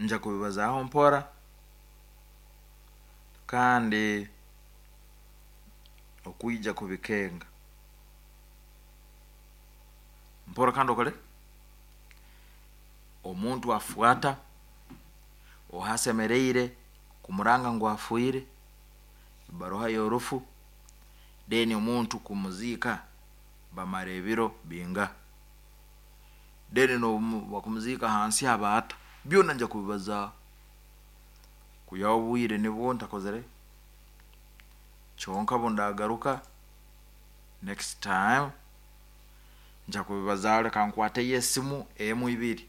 Nja kubibazaaho mpora kandi okwija kubikenga. Mpora kandi okore omuntu afuata oha asemereire kumuranga ngu afiire, ebaruha y'orufu, then omuntu kumuziika bamara ebiro bingaha, then n'obu bakumuziika ahansi aba ata, byona nja kubibazaaho. Kwihaho obwire nibwo ntakozire kyonka obu ndagaruka next time nja kubibazaaho reka nkwateyo esimu emu ibiri,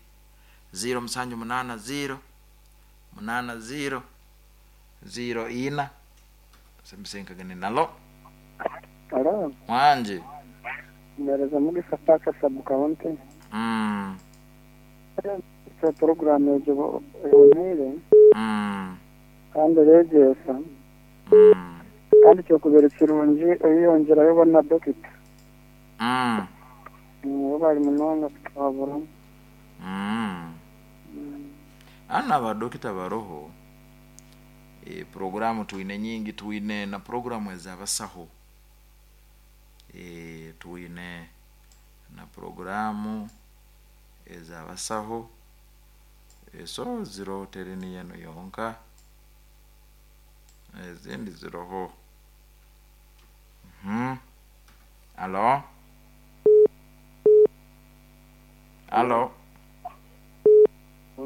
ziiro musanju munaana ziiro, munaana ziiro, ziiro ina, Nalo. Halo. Wangi. Mpereza Mugisha Parker Sub County. Puroguramu egyo eboneire kandi eregyesa kandi kyokubaire kirungi oyeyongyerayo bo na dokita. Bo bari munonga kutuhabura. Hanu aba dokita baroho. Puroguramu twine nyingi, twine na puroguramu ez'abasaho, twine na puroguramu ez'abasaho, so ziroho teri niyo enu yonka, ezindi ziroho. Halo? Halo?